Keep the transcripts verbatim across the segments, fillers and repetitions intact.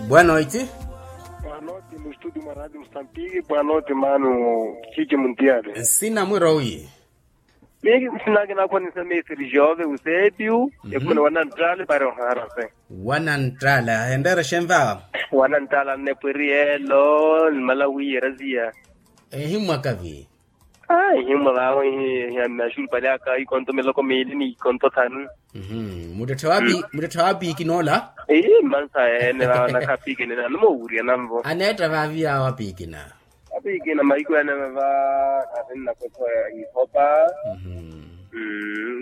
Bwanoiti. Bwanoiti mustudio mwa radio mustantiki bwanoiti mano. Chichi muntiyale. Nsina mwiro wi? Miki sinakina khwanisa mesiri jove usepiu. Ekhumene wananttale pari oharase. Wananttala henreere xenva? Wananttala nnepweri yelo nimala wiyeraziya. Ehimmwakavi? Ai himwa vawe. Hiyamme axulupale aka ikonto miloko miili ni ikonto thanu. Muttetthe wapiiki noola? Ii mmansa ene vawe nakhapiikini nanuma owurya nanvo. Aneetta vaavi yawe apiikina? Apiikina mahiku ene vava. Khasinnakoso ihopa.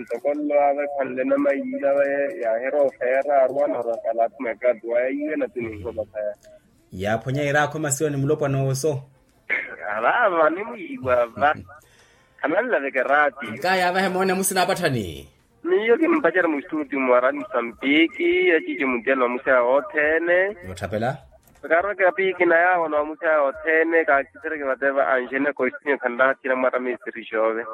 Ntoko nlo ave khwanle namayiila ve. Yahira ofeera arwa nahora kalathuma ekattu waya iwe natini ihopa saya. Yaaphwanya iraakho masiwa ni mulopwana owoso. Arava nimwiiwa va. Khananlaveke raati. Nkayaavahe moone musina apatthani. Miyo kimpacari mustutio mwa rani musambiki acici mutiyani wa musaya othene. Nootthapela. Karweke apiikina yaawo na wa musaya othene kaakisereke vateva anjene koisinyo khanlahathina mwarami siri xove.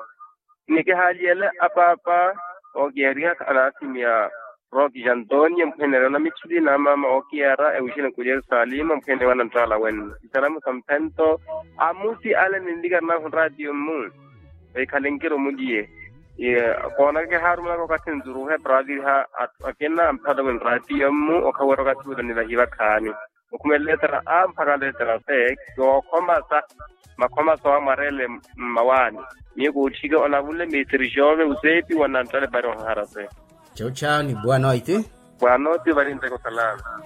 Nikihaaliyele apaapa ookiyariha anaathimiya roki ja antonia mpwenereya na mitthili na amaama ookiyara ewixini ku jerusalima mpwenereya wa nanttaala wenno isalamu sa mphento. Amusi ale ninlikari nahu nraatiyo mmu. Ekhale nkiro muliye. Koonaka kihaarumelaka okathi nzuruhe para aaviriha atthu akina amphatamwe nraatiyo mmu okhawerya okathi wira nivahiva khaani. Okhumelela letera a mpakha letera se. Kookhomasa makhomasa wamwarele mmawaani. Miyo kootthike onavunle mesiri xove useepi wananttale pari ohaharase. Chauchau ni bwanoiti. Bwanoiti vari nteko salama.